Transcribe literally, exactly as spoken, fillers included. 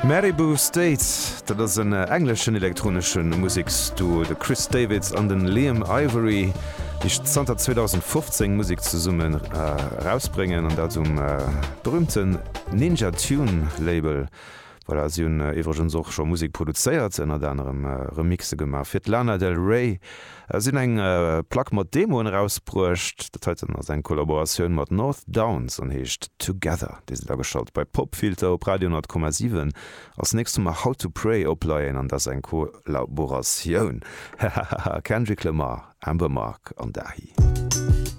Maribou State, dat ass en engleschen elektronesche Museksduo, de Chris Davids an den Liam Ivory, déi zanter zweedausendfofzéng Musek zesummen erausbréngen, an dat um berüümten Ninja Tune Label. Voilà, si hunn iwwregens och scho Musek produzéiert, ënnert anerem Remixe gemaach fir d'Lana Del Rey. Si hunn eng Plack mat Demoen erausbruecht. Dat heiten ass eng Kollaboratioun mat North Downs an heescht Together. Dir sidd ageschalt bei Popfilter op Radio honnert Komma siwen. Als nächst hu mer How to Pray opleien an dat ass eng Kollaboratioun, hahaha, Kendrick Lamar, Amber Mark an Dahi.